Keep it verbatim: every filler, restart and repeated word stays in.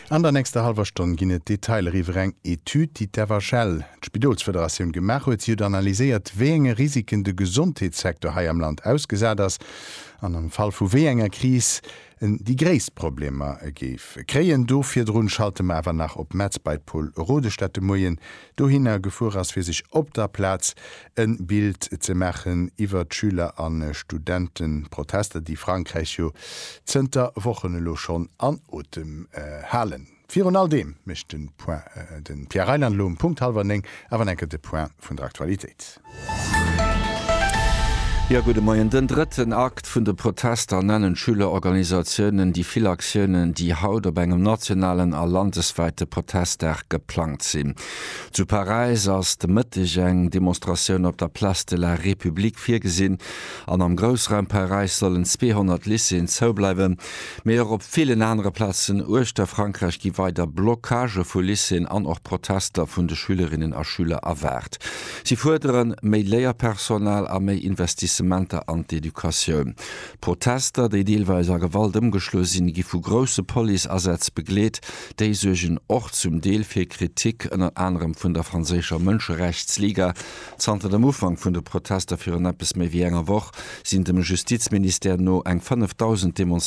An der nächster hallwer Stonn ginn et Detailer iwwer eng Etüd, déi d'F H L, d'Spidolsfederatioun, gemaach huet. Si huet analyséiert, wéi enge Risiken de Gesondheetssecteur hei am Land ausgesat ass an am Fall vu wéi enger Kris en déi gréisst Problemer géif kréien. Do virdrun schalte mer awer nach op Metz bei Paul Rodesch, dat de Moien dohinner gefuer ass, fir sech op der Plaz e Bild ze maachen iwwer d'Schüler a Studentenprotester, déi Frankräich jo zënter Wochen elo schonn an Otem äh, halen. Virun all deem mécht den Point äh, den Pierre Reyland elo um Punkt hallwer néng awer enke de Point vun der Aktualitéit. Ja, gudde Moien. Den drëtten Akt vun de Protester nennen Schülerorganisatiounen déi vill Aktiounen, déi haut op engem nationalen a landeswäite Protestdag geplangt sinn. Zu Paräis ass de Mëtteg eng Demonstratioun op der Place de la République virgesinn an am Groussraum Paräis sollen zweehonnert Lycéeën zoubleiwen. Mee och op villen anere Plazen uechter Frankräich gi weider Blockagë vu Lycéeën an och Protester vun de Schülerinnen a Schüler erwaart. Si fuerdere méi Léierpersonal a méi Investissementer an d'Educatioun. Protester, déi deelweis a Gewalt ëmgeschloe sinn, gi vu grousse Policeasätz begleet, déi suergen och zum Deel fir Kritik ënner anerem vun der franséischer Mënscherechtsliga. Zanter dem Ufank vun de Protester virun eppes méi wéi enger Woch sinn dem Justizministère no eng fënnefdausend Demonstranten